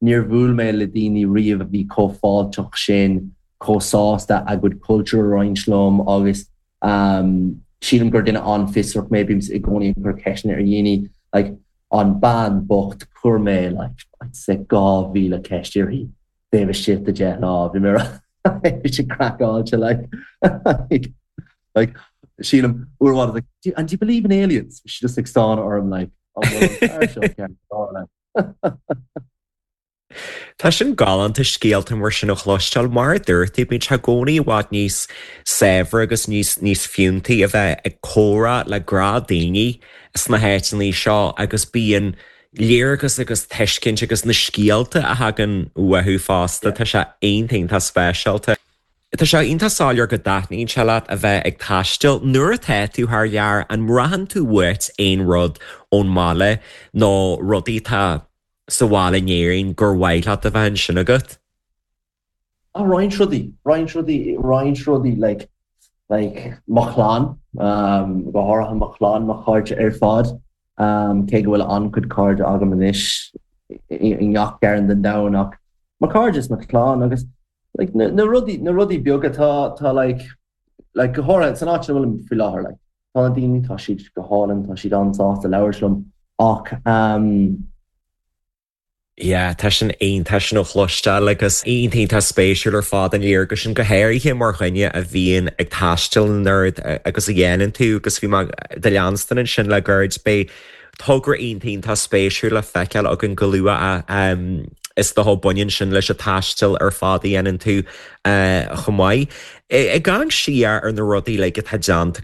Níor bhuail mé le daoine riamh a bhí chomh fáilteach sin, chomh sásta a gcuid cultúr a roinnt liom agus sílim gur duine an-fhiosrach mé, bím i gcónaí ag cur ceisteanna ar dhaoine, like an bean bocht, chuir mé like I'd say 2,000 ceist uirthi taobh istigh de 10 lá, bhí mé bhí sé craiceáilte like like sílim uair amháin I was like do and do you believe in aliens? Bhí sí just ag stánadh orm like an bhfuil an fear seo ceart go leor like. Tá sin galánta scéalta mar sin a chloisteáil. Mar a dúirt tú, bíonn sé i gcónaí i bhfad níos saibhre agus níos níos fiúntaí a bheith ag comhrá le gnáthdhaoine sna háiteanna seo agus bíonn léargas agus tuiscint agus na scéalta a thagann uathu fosta, tá sé iontach iontach speisialta. Tá sé iontach soiléir go dtaitníonn sé leat a bheith ag taisteal. Nuair atá tú thar lear, an mbraitheann tú uait aon rud ón mbaile nó rudaí atá sa bhaile in Éirinn gur mhaith leat a bheith ansin agat? Ah, roinnt rudaí, roinnt rudaí, roinnt rudaí, like, like, mo chlann, um, go háirithe mo chlann, mo chairde ar fad, um, cé go bhfuil an-chuid cairde agam anois i, i ngach cearn den domhan ach mo chairde is mo chlann agus, like, na, na rudaí, na rudaí beaga tá, tá like, like, go háirithe san áit ina bhfuilim faoi láthair, like, Tá na daoine, tá siad go hálainn, tá siad an-sásta labhairt liom ach ehm. Yeah, tá sin iontach sin a chloisteáil agus iontach iontach spéisiúil ar fad an léargas sin, go háirithe mar dhuine a bhíonn ag taisteal an oiread agus a dhéanann tú agus bhí mé do leanstan ansin le gairid, beidh togra iontach iontach spéisiúil le feiceáil againn go luath is dócha baineann sin leis an taisteal ar fad a dhéanann tú chomh maith. Ag amharc siar ar na rudaí uilig atá déanta.